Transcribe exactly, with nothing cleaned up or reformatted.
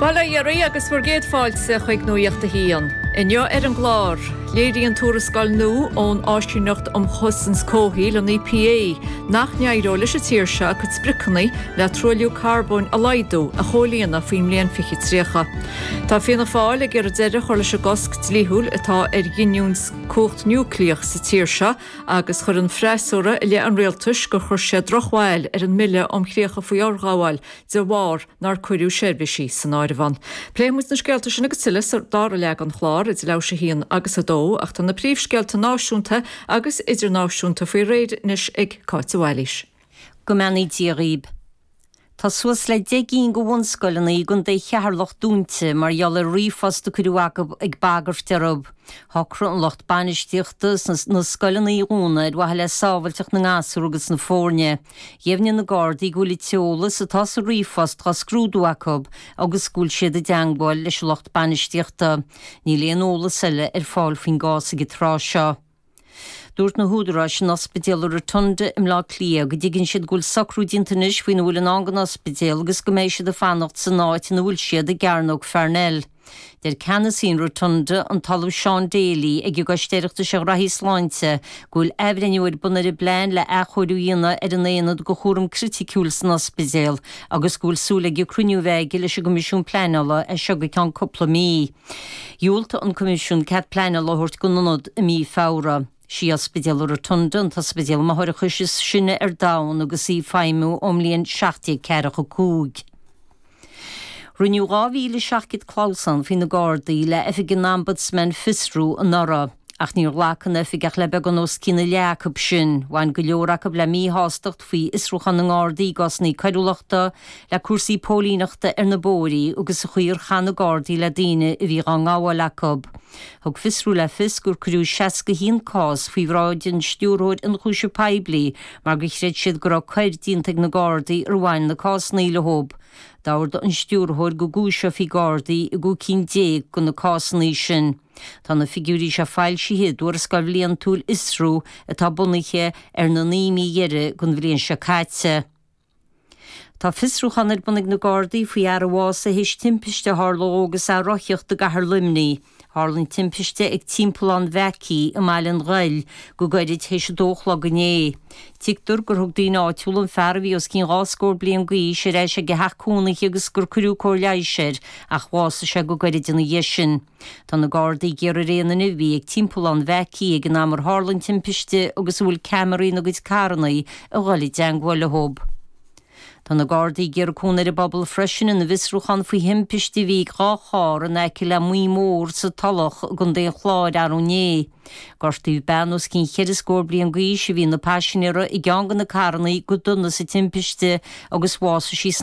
Bail ó Dhia oraibh agus bhur gcéad fáilte chuig Nuacht a hAon. Inniu ar an gclár, léiríonn tuarascáil nua ón Áisíneacht um Chosaint Comhshaoil an EPA nach n-éireoidh leis an tír seo a cuid spriocanna le truailliú carbóin a laghdú a chomhlíonadh faoin mbliain fiche tríocha. Tá Fianna Fáil ag iarraidh deireadh a chur leis an gcosc dlíthiúil atá ar ghiniúint cumhacht núicléach sa tír seo agus chuir an freasúra i leith an rialtais gur chuir sé drochbhail ar an mBille um Chríocha faoi Fhorghabháil de bharr nár cuireadh seirbhísí san áireamh ann. Pléifidh muid na scéalta sin agus tuilleadh sa dara leath den chlár idir leathuair tar éis a haon agus a dó ach tá na príomhscéalta náisiúnta agus idirnáisiúnta faoi réir anois ag Cáit Bhailís. Go mbeannaí Dia dhaoibh. Tá suas le deich gcinn de bhunscoileanna i gContae Cheatharlach dúnta mar gheall ar ríomhphost a cuireadh acu ag bagairt orthu. Shocraigh an lucht bainistíochta na scoileanna a dhúnadh ar mhaithe le sábháilteacht na ngasúr agus na foirne. Dheimhnigh na Gardaí go bhfuil an t-eolas atá sa ríomhphost á scrúdú acu agus go bhfuil siad i dteagmháil leis an lucht bainistíochta. Níl aon eolas eile ar fáil faoin gcás ag an tráth seo. Dúirt na húdaráis in ospidéal Rotunda i mBleá Cliath go dtuigeann siad go bhfuil socrú déanta anois faoina bhfuil i ndán don ospidéal agus go mbeidh siad ag fanacht san áit ina bhfuil siad i gCearnóg Pharnell. Deir ceannasaí an Rotunda an tOllamh Sean Daly ag an gCoiste Oireachtais ar Ghraithí Sláinte go bhfuil athbhreithniú ar bun ar an bplean le athchóiriú a dhéanamh ar an aonad do chúram criticiúil san ospidéal agus go bhfuil súil aige cruinniú a bheith aige leis an gCoimisiún Pleanála as seo go ceann cúpla mí. Dhiúltaigh an Coimisiún cead pleanála a thabhairt don ionad i mí Feabhra. Sí ospidéal Rotunda an t-ospidéal máithreachais is sine ar domhan agus í ag feidhmiú ón mbliain seacht déag ceathracha cúig. Rinneadh dhá mhíle seacht gcéad clamhsán faoi na Gardaí le oifig an Ombudsman fiosrú anuraidh. Ach níor ghlac an oifig ach le beagán os cionn a leath acu sin. Bhain go leor acu le míshástacht faoi fhiosrúchán na nGardaí i gcásanna coiriúlachta, le cúrsaí póilíneachta ar na bóithrí agus an chaoi ar chaith na Gardaí le daoine a bhí á ngabháil acu. Thug fiosrú le fios gur cuireadh seasca haon cás faoi bhráid an stiúrthóir ionchúiseamh poiblí mar gur chreid siad go raibh coir déanta ag na Gardaí ar bhain na cásanna leo. D'ordaigh an stiúrthóir go gcúiseofaí Gardaí i gcúig cinn déag de na cásanna sin. Tá na figiúirí seo foilsithe i dtuarascáil bhliantúil Fhiosrú atá bunaithe ar na naoi mí dheiridh den bhliain seo caite. Tá fiosrúchán ar bun ag na Gardaí faoi fhear a bhásaigh théis timpiste a tharla dó agus é ag rothaíocht i gcathair Luimnigh. Tharla an timpiste ag Timpeallán Mhackey i mBaile an Ghoill go gairid théis a dó a chlog inné. Tuigtear gur thug daoine áitiúla an fear a bhí os cionn dhá scór bliain d'aois ar ais ag a theach cónaithe agus gur cuireadh cóir leighis air ach bhásaigh sé go gairid ina dhiaidh sin. Tá na Gardaí ag iarraidh ar aon duine a bhí ag Timpeallán Mhackey ag an am ar tharla an timpiste agus a bhfuil ceamaraí ina gcuid carranna a dhul i dteagmháil leo. Tá na Gardaí ag iarraidh cúnamh ar an bpobal freisin ina bhfiosrúchán faoi thimpiste a bhí ag dhá charr in aice le Maigh Mór sa Tulach i gContae an Chláir arú inné. Gortaíodh bean os cionn cheithre scór bliain d'aois a bhí ina paisinéara i gceann de na carranna go dona sa timpiste agus bhásaigh sí san